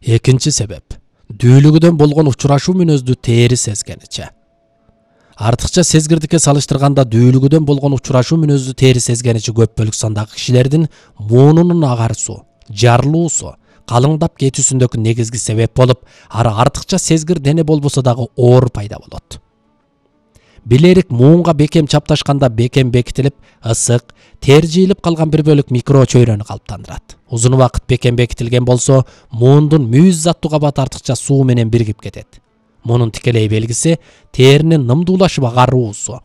Экинчи себеп дүүлүгүдөн болгон учурашуу мүнөздү тери сезгениче. Артыкча сезгирдикке салыштырганда дүүлүгүдөн болгон учурашуу мүнөздү тери сезгеничи көп бөлүк сандагы кишилердин муунунун агарсуу, жарылуусу, калыңдап кетүүсүндөгү негизги себеп болуп, ары артыкча сезгир дене болбосо дагы оор пайда болот. Билерик муунга бекем чапташканда бекем бекитилип, ысык, тер жыйылып калган бир бөлүк микро чөйрөнү калыптандырат. Узун убакыт бекем бекитилген болсо, муундун мүйүз заттуу кабаты артыкча суу менен биригип кетет. Мунун тикелей белгиси теринин нымдуулашып агаруусу.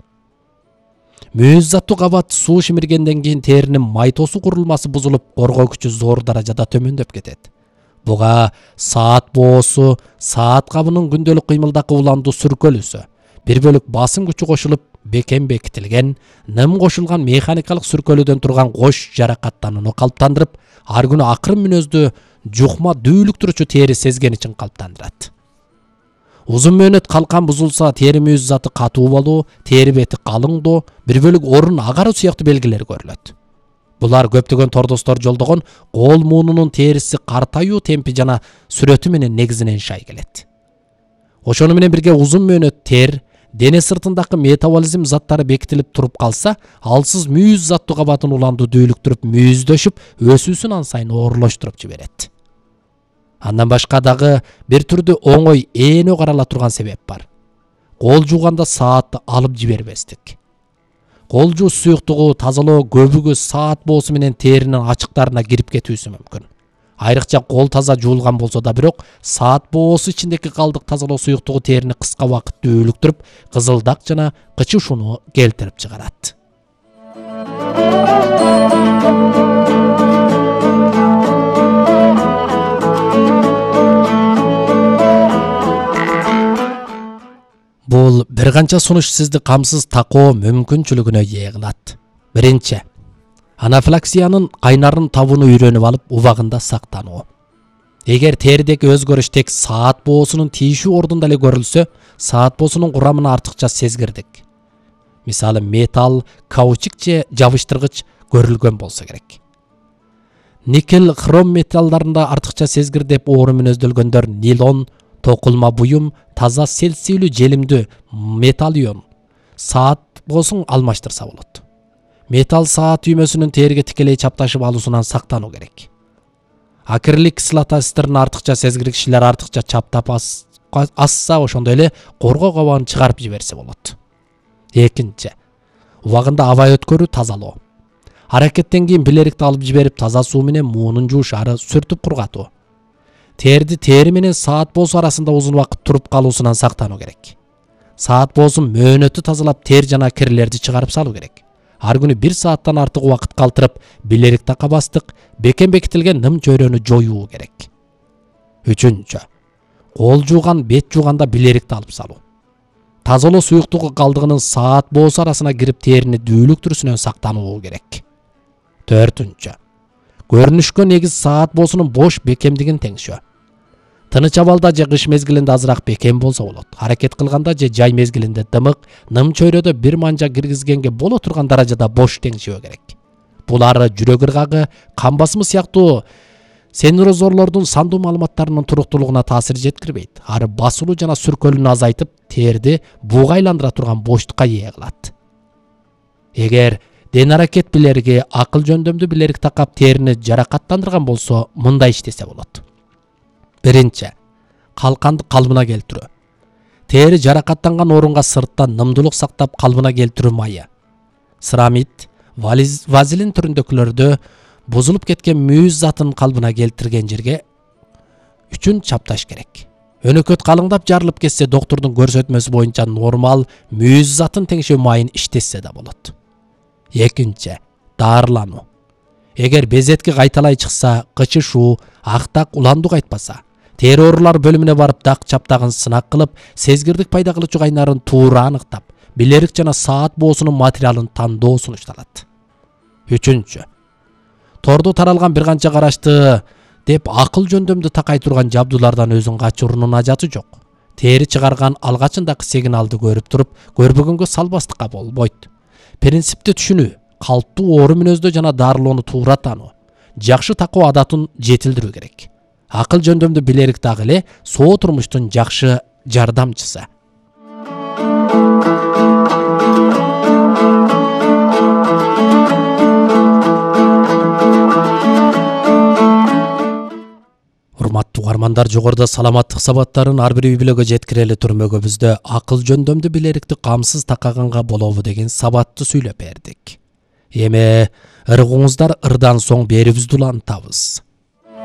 Мүйүз заттуу кабат суу шимиргенден кийин теринин майтосу курулмасы бузулуп, коргоо күчү зор даражада төмөндөп кетет. Буга саат боосу, саат кабынын күндөлүк кыймылдакы уландуу сүркөлүүсү, бир бөлүк басым күчү кошулуп, бекем бекитилген, ным кошулган механикалык сүркөлүүдөн турган кош жаракаттанууну калыптандырып, ар күнү акырын мүнөздүү жукма дүүлүктүрүүчү тери сезгеничин калыптандырат. Узун мөөнөт калкан бузулса, тери мүйүз заты катуу болуу, тери бети калыңдоо, бир бөлүк орун агаруу сыяктуу белгилер көрүлөт. Булар көптөгөн тордостор жолдогон кол муунунун териси картаюу темпи жана сүрөтү менен негизинен шай келет. Ошону менен бирге узун мөөнөт тер, дене сыртындагы метаболизм заттары бекитилип туруп калса, алсыз мүйүз заттуу кабатын уландуу дүүлүктүрүп, мүйүздөшүп, өсүүсүн ан сайын оорлоштуруп жиберет. Андан башка дагы бир түрдүү оңой ээнө карала турган себеп бар. Кол жууганда саатты алып жибербестик. Кол жуу суюктугу тазалоо көбүгү саат боосу менен теринин ачыктарына кирип кетүүсү мүмкүн. Айрыкча кол таза жуулган болсо да бирок, саат боосу ичиндеги калдык тазалоо суюктугу терини кыска убакыт дүүлүктүрүп, кызылдак жана кычышууну келтирип чыгарат. Бул бир канча сунуш сизди камсыз такоо мүмкүнчүлүгүнө ээ кылат. Биринчи, анафилаксиянын кайнарын табууну үйрөнүп алып, убагында сактануу. Эгер теридеги өзгөрүш тек саат боосунун тийишүү ордунда эле көрүлсө, саат боосунун курамына артыкча сезгирдик, мисалы металл, каучук же жабыштыргыч көрүлгөн болсо керек. Никель, хром металлдарында артыкча сезгир деп оору мүнөздөлгөндөр нилон, токулма буюм, таза селсийлүү желимдүү металл ион, саат боосун алмаштырса болот. Металл саат түймөсүнүн териге тикелей чапташып алуусунан сактануу керек. Акрилик кислотастерин артыкча сезгир кишилер артыкча чаптап асса, ошондой эле коргоо кабагын чыгарып жиберсе болот. Экинчи, убагында аба өткөрүү, тазалоо. Аракеттен кийин билерикти алып жиберип, таза суу менен муунун жууш, ары сүртүп кургатуу. Терди тери менен саат боосу арасында узун убакыт туруп калуусунан сактануу керек. Саат боосун мөөнөтү тазалап, тер жана кирлерди чыгарып салуу керек. Ар күнү 1 сааттан артык убакыт калтырып, билерик такабастык, бекем бекитилген ным чөйрөнү жоюу керек. Үчүнчү, кол жууган, бет жууганда билерикти алып салуу. Тазалоо суюктугу калдыгынын саат боосу арасына кирип, терини дүүлүктүрүүсүнөн сактануу керек. Төртүнчү, көрүнүшкө негиз саат боосунун бош бекемдигин теңшөө. Тыныч абалда же кыш мезгилинде азыраак бекем болсо болот. Аракет кылганда же жай мезгилинде дымык, ным чөйрөдө бир манжа киргизгенге боло турган даражада бош теңшөө керек. Булар жүрөк ыргагы, кан басымы сыяктуу сенсорлордун сандуу маалыматтарынын туруктуулугуна таасир жеткирбейт. Ары басылуу жана сүркөлүүнү азайтып, терди буга айландыра турган боштукка ээ кылат. Эгер ден аракет билериги акыл жөндөмдүү билерик такап терини жаракаттандырган болсо, мындай иштесе болот. Биринчи, калканды калыбына келтирүү. Тери жаракаттанган орунга сырттан нымдуулук сактап калыбына келтирүү майы. Церамид, вазелин түрүндөгүлөрдө бузулуп кеткен мүйүз затын калыбына келтирген жерге үчүн чапташ керек. Өнөкөт калыңдап жарылып кетсе, доктурдун көрсөтмөсү боюнча нормал мүйүз затын теңшөө майын иштетсе да болот. Экинчи, дарылануу. Эгер безетки кайталай чыкса, кычышуу, актак, уландуу кайтпаса, тери оорулар бөлүмүнө барып дак чаптагын сынак кылып, сезгирдик пайда кылуучу кайнарын туура аныктап, билерик жана саат боосунун материалын тандоо сунушталат. Үчүнчү, тордо таралган бир канча карашты деп акыл жөндөмдү такай турган жабдуулардан өзүн качыруунун ажаты жок. Тери чыгарган алгачындагы сигналды көрүп туруп, көрбөгөнгө салбастыкка болбойт. Принципти түшүнүү, калптуу оору мүнөздө жана дарылоону туура таануу, жакшы такоо адатын жетилдирүү керек. Акыл жөндөмдүү билерик дагы эле соо турмуштун жакшы жардамчысы. Урматтуу угармандар, жогоруда саламаттык сабаттарын ар бир үй бүлөгө жеткирели түрмөгүбүздө акыл жөндөмдүү билерикти камсыз такаганга болобу деген сабатты сүйлөп бердик. Эми ыргуңуздар ырдан соң берибизди улантабыз.